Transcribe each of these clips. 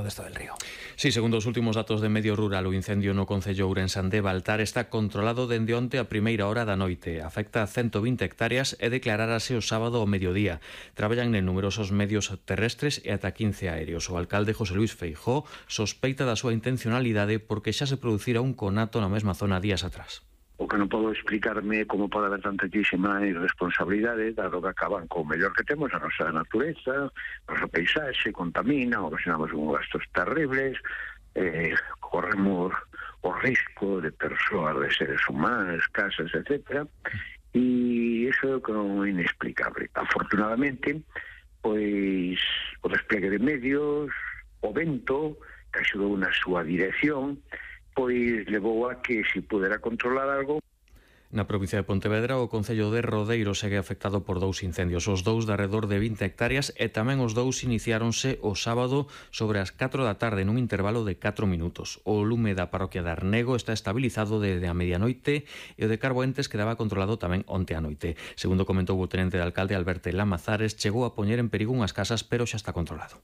Modesto del Río. Sí, segundo os últimos datos de Medio Rural, o incendio no concello ourensán de Baltar está controlado dende onte a primeira hora da noite. Afecta a 120 hectáreas e declararase o sábado ao mediodía. Traballan en numerosos medios terrestres e ata 15 aéreos. O alcalde José Luis Feijóo sospeita da súa intencionalidade porque xa se producira un conato na mesma zona días atrás. O que non podo explicarme como pode haber tantísima irresponsabilidade, dado que acaban co mellor que temos, a nosa natureza, a nosa paisaxe, contamina, ocasionamos uns gastos terribles, corremos o risco de persoas, de seres humanos, casas, etc. E iso é o que non é inexplicable. Afortunadamente, pois o despliegue de medios, o vento, que axudou na súa dirección, pois levou a que se pudera controlar algo. Na provincia de Pontevedra, o concello de Rodeiro segue afectado por dous incendios, os dous de arredor de 20 hectáreas e tamén os dous iniciáronse o sábado sobre as 4 da tarde nun intervalo de 4 minutos. O lume da parroquia de Arnego está estabilizado desde a medianoite e o de Carboentes quedaba controlado tamén onte a noite. Segundo comentou o tenente de alcalde Alberto Lamazares, chegou a poñer en perigo unhas casas, pero xa está controlado.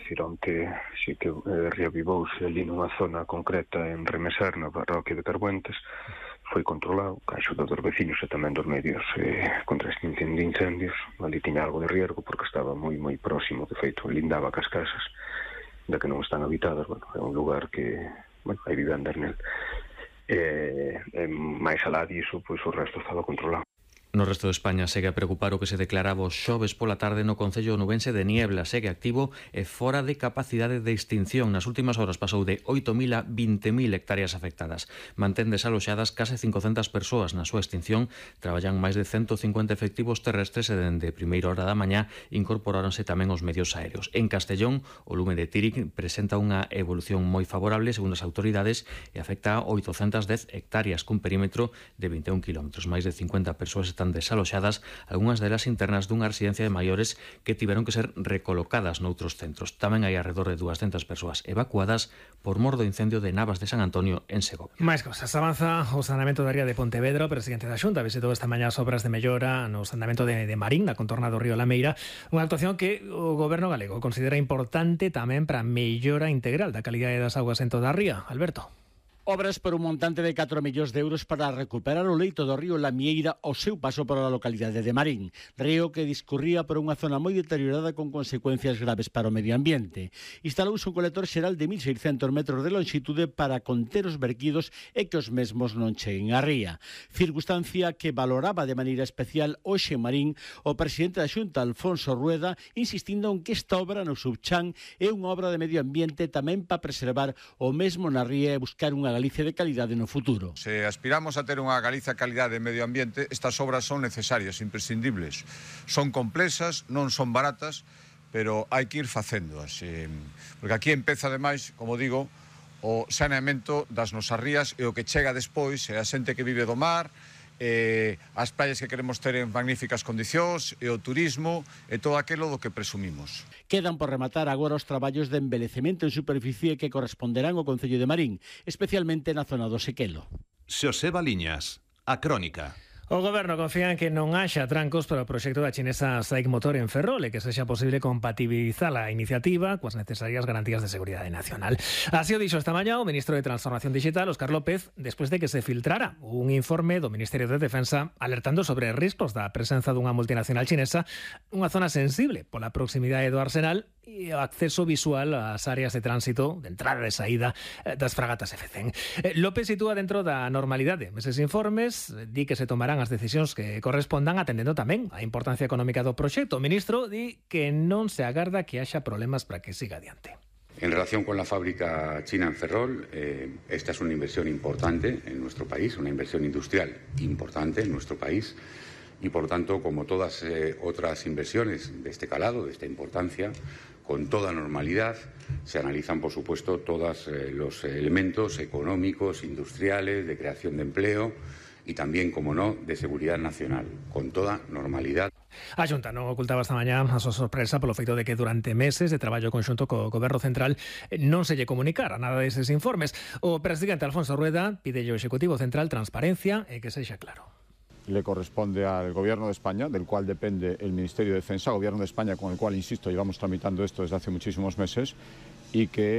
Onte si que reavivouse ali nunha zona concreta en Remeser, na parroquia de Carbuentes, foi controlado, ca axuda dos veciños e tamén dos medios contra este incendio de incendios. Ali tiña algo de riesgo porque estaba moi próximo, de feito, lindaba cas casas, da que non están habitadas. Bueno, é un lugar que, hai vivendas nel. Mais alá diso, pois o resto estaba controlado. No resto de España segue a preocupar o que se declaraba o xoves pola tarde no concello onubense de Niebla. Segue activo e fora de capacidade de extinción. Nas últimas horas pasou de 8.000 a 20.000 hectáreas afectadas. Mantén desaloxadas case 500 persoas. Na súa extinción traballan máis de 150 efectivos terrestres e dende primeira hora da mañá incorporáronse tamén os medios aéreos. En Castellón, o lume de Tíric presenta unha evolución moi favorable segundo as autoridades e afecta a 810 hectáreas cun perímetro de 21 km. Máis de 50 persoas están desaloxadas, algunhas delas internas dunha residencia de maiores que tiveron que ser recolocadas noutros centros. Tamén hai alrededor de 200 persoas evacuadas por mor do incendio de Navas de San Antonio en Segovia. Máis cosas. Avanza o saneamento da ría de Pontevedra. O presidente da Xunta visitou esta mañá as obras de mellora no saneamento de Marín, na contorna do río Lameira, unha actuación que o goberno galego considera importante tamén para a mellora integral da calidade das augas en toda a ría. Alberto. Obras por un montante de 4 millóns de euros para recuperar o leito do río Lamieira ao seu paso por a localidade de Marín, río que discurría por unha zona moi deteriorada con consecuencias graves para o medio ambiente. Instalouse un colector xeral de 1.600 metros de longitude para conter os verquidos e que os mesmos non cheguen á ría. Circunstancia que valoraba de maneira especial hoxe en Marín o presidente da Xunta, Alfonso Rueda, insistindo en que esta obra no Subchan é unha obra de medio ambiente tamén para preservar o mesmo na ría e buscar unha Galicia de calidade no futuro. Se aspiramos a ter unha Galicia de calidade de medio ambiente, estas obras son necesarias, imprescindibles. Son complexas, non son baratas, pero hai que ir facéndoas. Porque aquí empeza, ademais, como digo, o saneamento das nosas rías e o que chega despois é a xente que vive do mar, as praias que queremos ter en magníficas condicións e o turismo e todo aquilo do que presumimos. Quedan por rematar agora os traballos de envelecemento en superficie que corresponderán ao concello de Marín, especialmente na zona do Sequelo. Xosé Baliñas, a crónica. O goberno confía en que non haxa trancos para o proxecto da chinesa SAIC Motor en Ferrol e que sexa posible compatibilizar a iniciativa coas necesarias garantías de seguridade nacional. Así o dixo esta mañá o ministro de Transformación Digital, Óscar López, despois de que se filtrara un informe do Ministerio de Defensa alertando sobre riscos da presenza dunha multinacional chinesa nunha zona sensible pola proximidade do arsenal e o acceso visual ás áreas de tránsito, de entrada e saída das fragatas F-100. López sitúa dentro da normalidade eses informes, di que se tomarán as decisións que correspondan atendendo tamén a importancia económica do proxecto. O ministro di que non se agarda que haxa problemas para que siga adiante. En relación con la fábrica china en Ferrol, esta es una inversión importante en nuestro país, una inversión industrial importante en nuestro país. Y, por tanto, como todas otras inversiones de este calado, de esta importancia, con toda normalidad se analizan, por supuesto, todos los elementos económicos, industriales, de creación de empleo y también, como no, de seguridad nacional, con toda normalidad. A Xunta non ocultaba esta mañá a súa sorpresa polo feito de que durante meses de traballo conxunto co Goberno Central non se lle comunicara nada deses informes. O presidente Alfonso Rueda pide ao Executivo Central transparencia e que sexa claro. Le corresponde al Gobierno de España, del cual depende el Ministerio de Defensa, Gobierno de España con el cual, insisto, llevamos tramitando esto desde hace muchísimos meses, y que